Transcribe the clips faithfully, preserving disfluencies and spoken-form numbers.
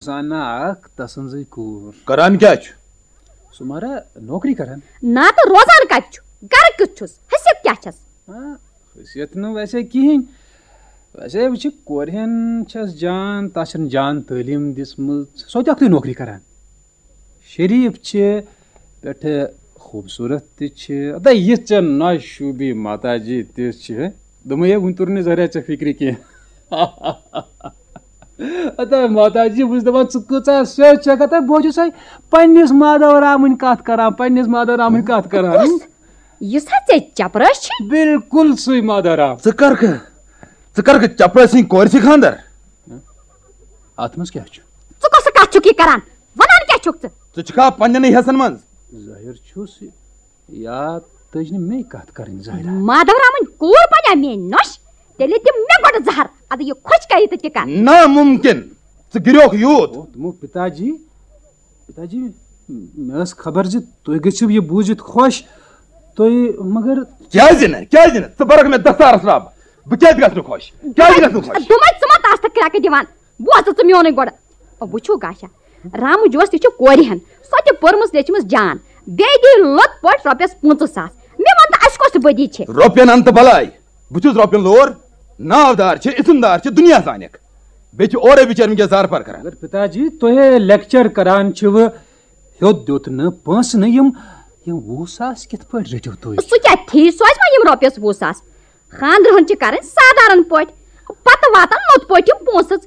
زانان اکھ تسٕنزٕے کوٗر۔ کران کیٛاہ چھُ؟ سُہ مہراہ نوکری کران۔ نہ تہٕ روزان کتہِ چھُ؟ گرٕ کیُتھ چھُس؟ حیثیت کیٛاہ چھس؟ آ، حیثیت نہٕ ویسے کِہیٖنۍ۔ ویسے وٕچھِ، کورِ ہن چھس جان، تس چھن جان تعلیٖم دِژمٕژ۔ سۄ تہِ اکھتُے نوکری کران۔ شریٖف چھِ، پٮ۪ٹھٕ خوٗبصوٗرت تہِ چھِ۔ ادا یہِ ژےٚ نۄش شوٗبی ماتا جی تہِ چھِ۔ دوٚپمَے، ہے، وٕنہِ توٚر نہٕ ذرا ژےٚ فِکرِ کینٛہہ۔ ادا ماتا جی، بہٕ چھُس دَپان، ژٕ کۭژاہ سیٚود چھَکھ۔ ادا بہٕ چھُسَے پنٛنِس مادھو رامٕنۍ کَتھ کَران، پنٛنِس مادھو رامٕنۍ کَتھ کَران۔ کُس؟ یُس ہا ژےٚ چپراسی چھِ؟ بِلکُل سُے مادھو رام۔ ژٕ کَرکھٕ، ژٕ کَرکھٕ چپرٲسۍ سٕنٛدِ کورِ سۭتۍ خانٛدر؟ اَتھ منٛز کیٛاہ چھُ؟ ژٕ کۄسہٕ کَتھ چھُکھ یہِ کَران؟ وَنان کیٛاہ چھُکھ ژٕ؟ ژٕ چھُکھا پنٛنٮ۪نٕے حِصَن منٛز؟ ظٲہِر چھُس، یا تٔج نہٕ مے کَتھ کَرٕنۍ ظٲہِرا۔ مادھو رامٕنۍ کوٗر بَنیٛا میٛٲنۍ نۄش؟ تیٚلہِ دِ مےٚ گۄڈٕ زَہر، اَدٕ یہِ خۄش کَرِ تہٕ تہِ کَر۔ نامُمکِن۔ ژٕ گِریوکھ یوٗت۔ او، تِمو پِتا جی، پِتا جی، مےٚ ٲس خبر زِ تُہۍ گٔژھِو یہِ بوٗزِتھ خۄش۔ تُہۍ، مگر کیٛازِ نہٕ؟ کیٛازِ نہٕ؟ ژٕ بَرَکھ مےٚ دَستارَس رَب۔ بہٕ کیٛازِ گژھٕ نہٕ خۄش؟ کیٛازِ گژھٕ نہٕ خۄش؟ دوٚپمَے، ژٕ ما تَس تہٕ کرٛٮ۪کہٕ دِوان؟ بوز ژٕ میونُے گۄڈٕ۔ وٕچھِو گاشا، رامہٕ جوس تہِ چھِ کورِ ہن، سۄ تہِ پٔرمٕژ لیچھمٕژ جان، بیٚیہِ دی لوٚت پٲٹھۍ رۄپیَس پٕنٛژٕہ ساس۔ مےٚ وَن تہٕ، اَسہِ کۄس بدی چھِ؟ رۄپین اَن تہٕ بلاے۔ بہٕ چھُس رۄپین لور، ناودار چھِ، اسمدار چھِ، دُنیا زانٮ۪کھ۔ بیٚیہِ چھِ اورے بِچٲرۍ وٕنکیٚس زار پار کران۔ مگر پِتا جی، تُہۍ لیکچر کران چھِوٕ، ہیوٚت دیُت نہٕ، پونٛسہٕ نہٕ، یِم، یِم وُہ ساس کِتھ پٲٹھۍ رٔٹِو تُہۍ؟ سُہ کیٛاہ ٹھیٖک سوزِ وۄنۍ یِم رۄپیَس وُہ ساس؟ خانٛدرٕ ہن چھِ کرٕنۍ سادارن پٲٹھۍ، پتہٕ واتن لوٚت پٲٹھۍ یِم پونٛسہٕ۔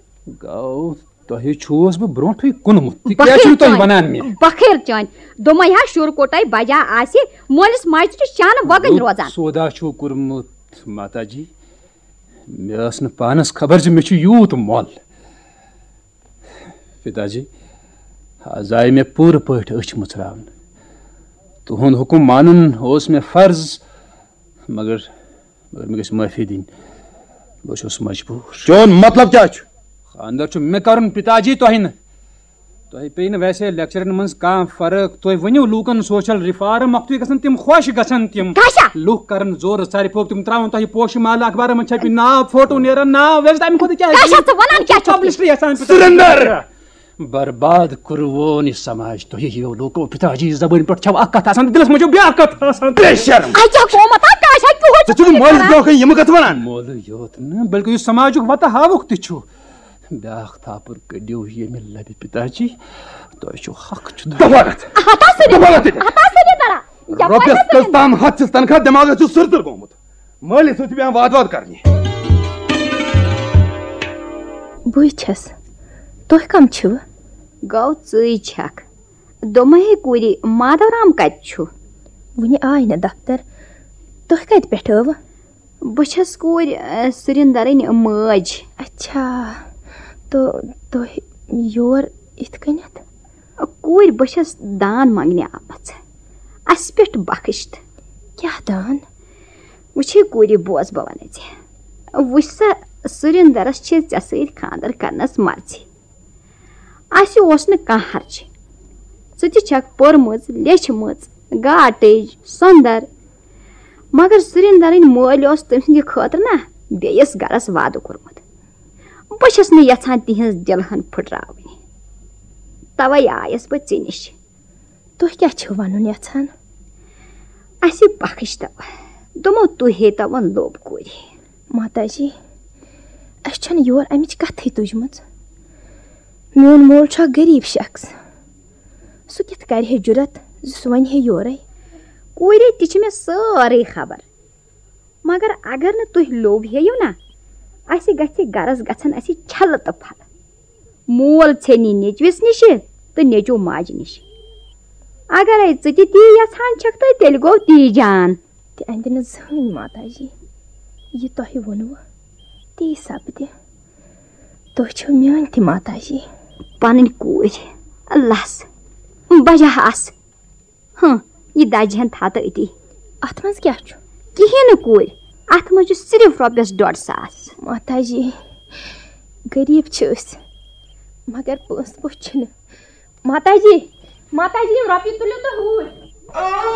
گوٚو، تۄہہِ چھُوس بہٕ برونٛٹھٕے کُنمُت، تہِ کیٛازِ بخیل چھِو تُہۍ چٲنۍ، ونان مےٚ؟ بخیل چٲنۍ، دوٚپمَے ہا، شُر کوٚٹے بجا آسہِ، مٲلِس ماجہِ تہِ چھِ شانہٕ وۄگٕنۍ رُت روزان۔ سودا چھُو کوٚرمُت، ماتا جی۔ مےٚ ٲس نہٕ پانس خبر زِ مےٚ چھُ یوٗت مۄل۔ پِتا جی، از آیہِ مےٚ پوٗرٕ پٲٹھۍ أچھ مُژراونہٕ۔ تُہُنٛد حُکُم مانُن اوس مےٚ فرض، مگر، مگر مےٚ گژھِ معٲفی دِنۍ۔ بہٕ چھُس مجبوٗر۔ چون مطلب کیٛاہ چھُ؟ خانٛدر چھُ مےٚ کرُن، پِتا جی، تۄہہِ نہٕ۔ تۄہہِ پیٚیہِ نہٕ ویسے لیکچرن منٛز کانٛہہ فرق۔ تُہۍ ؤنِو لوٗکن سوشل ریفارم، مۄکھتُے گژھن تِم خۄش، گژھن تِم۔ کاشا۔ لوٗکھ کرن زورٕ ژارِ پوٚپ، تِم ترٛاوَن تۄہہِ پوشہٕ مال اخبارن منٛز چھپہِ، ناو فوٹو نیرن، ناو ویسے تَمہِ کھۄتہٕ کیٛاہ؟ کاشا، ژٕ وَنان کیٛاہ چھُکھ؟ پبلشری یژھان پِتا جی۔ سُرِندر! برباد کوٚروون یہِ سماج تۄہہِ ہِویو لوٗکو۔ پِتا جی، زبٲنۍ پٮ۪ٹھ چھو اکھ کتھ آسان، دِلس منٛز چھو بیٛاکھ کتھ آسان۔ بے شرم! اَے کیٛاہ قومت ہا، کاشا، کیُہُے ژٕ چھُکھ مٲلِس برونٛہہ کنہِ یِم کتھٕ ونان؟ مولوٗ یوت نہٕ، بلکہِ یُس سماجُک وتہٕ ہاوُکھ تہِ چھُ۔ بیٛاکھ تھاپُر کٔڑِو ییٚمہِ لبہِ پِتا جی، تۄہہِ چھُو حق چھُ۔ دفا گژھ۔ ہتا سُرِندر، دفا گژھ ییٚتہِ۔ ہتا سُرِندرا، یپٲرۍ رۄپیس ہا کٔژ سُرِندر۔ تام ہتھ چھِس تنخواہ، دٮ۪ماغس چھُ سٕر سٕر گوٚمُت۔ مٲلِس سۭتۍ چھُ پیوان واد واد کرنہِ۔ بٕے چھَس۔ تُہۍ کم چھِوٕ؟ گوٚو ژٕے چھکھ۔ دوٚپمَے کوٗری، مادو رام کتہِ چھُ؟ وُنہِ آے نہٕ دفتر۔ تُہۍ کتہِ پٮ۪ٹھ ٲوٕ؟ بہٕ چھَس کوٗرۍ، ٲ، سُرِندرٕنۍ مٲج۔ اچھا، تہٕ تُہۍ یور یِتھ کٔنٮ۪تھ؟ کوٗرۍ، بہٕ چھَس دان منٛگنہِ آمٕژ۔ اَسہِ پٮ۪ٹھ بخٕش تہٕ۔ کیٛاہ دان؟ وٕچھِو کوٗرِ، بوز بہٕ وَنَے ژےٚ۔ وٕچھ سا، سُرِندرَس چھِ ژےٚ سۭتۍ خانٛدر کرنَس مرضی۔ اَسہِ اوس نہٕ کانٛہہ ہرجہِ۔ ژٕ تہِ چھَکھ پٔرمٕژ، لیٚچھمٕژ، گاٹٕج، سۄندر۔ مگر سُرِندرٕنۍ مٲلۍ اوس تٔمۍ سٕنٛدِ خٲطرٕ نا بیٚیِس گرس وعدٕ کوٚرمُت۔ بہٕ چھَس نہٕ یژھان تِہنٛز دِلہٕ ہن پھٕٹراوٕنۍ۔ توے آیس بہٕ ژےٚ نِش۔ تُہۍ کیٛاہ چھِو وَنُن یژھان؟ اَسہِ بخٕش تو۔ دوٚپمو، تُہۍ ہے تو وۄنۍ لوٚب کوٗرِ۔ ماتا جی، اَسہِ چھَنہٕ یور اَمِچ کَتھٕے تُجمٕژ۔ میون مول چھُ اکھ غریٖب شخص۔ سُہ کِتھ کَرِ ہے جُرت زِ سُہ وَنہِ ہے یورَے؟ کوٗرِ تہِ چھِ مےٚ سٲرٕے خبر۔ مگر اگر نہٕ تُہۍ لوٚب ہیٚیِو نا، اَسہِ گژھِ گرس گژھن اَسہِ چھلہٕ تہٕ پھلہٕ۔ مول ژھیٚنہِ نیٚچوِس نِشہِ تہٕ نیٚچو ماجہِ نِشہِ۔ اگرے ژٕ تہِ تی یژھان چھکھ تہٕ تیٚلہِ گوٚو تی جان۔ تہِ اندِ نہٕ زٕہٕنۍ ماتا جی، یہِ تۄہہِ ووٚنوٕ تی سپدِ۔ تُہۍ چھِو میٲنۍ تہِ ماتا جی۔ پنٕنۍ کوٗر، لس، بجا آس۔ ہاں، یہِ دَجہِ ہن تھاو تہٕ أتی۔ اَتھ منٛز کیٛاہ چھُ؟ کِہیٖنۍ نہٕ کوٗرِ، اَتھ منٛز چھُ صرف رۄپیَس ڈۄڈ ساس۔ ماتا جی، غریٖب چھِ أسۍ، مگر پونٛسہٕ پٲٹھۍ چھِنہٕ۔ ماتا جی، ماتا جی، یِم رۄپیہِ تُلِو تہٕ ہُہ۔